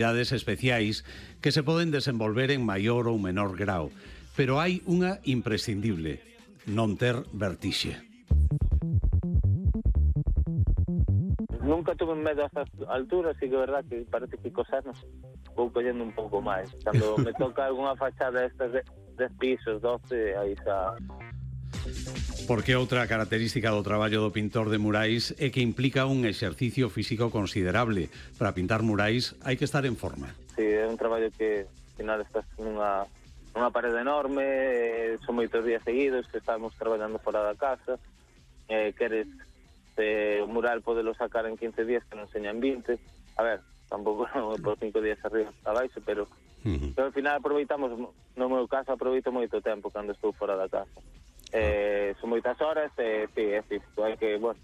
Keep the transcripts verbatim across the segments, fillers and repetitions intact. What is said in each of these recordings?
actividades especiais que se poden desenvolver en maior ou menor grau, pero hai unha imprescindible: non ter vertixe. Nunca tuve medo a estas alturas, e que é verdad que parece que cos anos vou collendo un pouco máis. Cando me toca algunha fachada estas de dez pisos, doce, aí xa... Porque outra característica do traballo do pintor de murais é que implica un exercicio físico considerable. Para pintar murais hai que estar en forma. Sí, é un traballo que, ao final, estás nunha, nunha parede enorme, eh, son moitos días seguidos que estamos traballando fora da casa, eh, queres eh, o mural podelo sacar en quince días que non enseñan vinte. A ver, tampouco non por cinco días arriba abaixo, pero, uh-huh. pero ao final aproveitamos, no meu caso aproveito moito tempo cando estou fora da casa. Eh, son moitas horas, e eh, sí, é físico, hai que, bueno,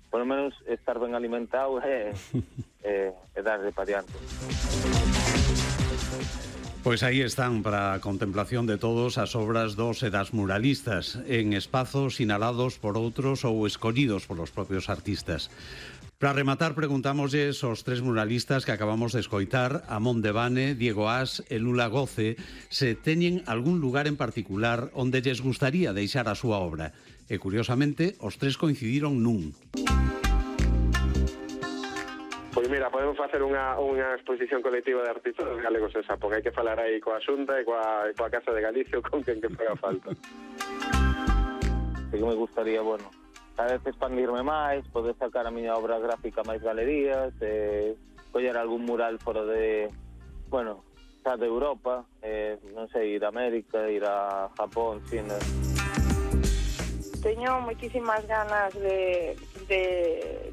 por lo menos estar ben alimentado e eh, eh, darle para diante. Pois aí están para a contemplación de todos as obras dos e das muralistas, en espazos sinalados por outros ou escollidos polos propios artistas. Para rematar, preguntámosles aos tres muralistas que acabamos de escoitar, Amón Devane, Diego As e Lula Goce, se teñen algún lugar en particular onde lles gustaría deixar a súa obra. E, curiosamente, os tres coincidiron nun. Pois mira, podemos facer unha, unha exposición colectiva de artistas galegos en Xapón. Hai que falar aí coa Xunta e coa, coa Casa de Galicia ou con quen que faga falta. Sí que me gustaría, bueno, cada vez expandirme máis, poder sacar a miña obra gráfica máis galerías, eh, coller algún mural fora de, bueno, xa de Europa, eh, non sei, ir a América, ir a Japón, China. Teño moitísimas ganas de, de,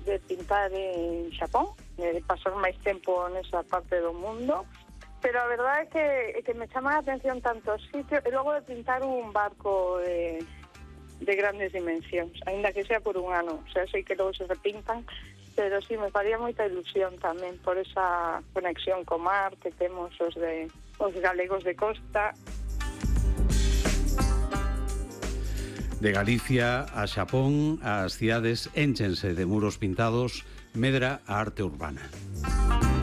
de pintar en Xapón, de pasar máis tempo nesa parte do mundo, pero a verdade é que, é que me chama a atención tanto o sitio, e logo de pintar un barco de... de grandes dimensións, aínda que sea por un ano. O sea, sei que logo se repintan, pero sí, me faría moita ilusión tamén por esa conexión co mar que temos os de os galegos de costa. De Galicia a Xapón, as cidades énchense de muros pintados, medra a arte urbana.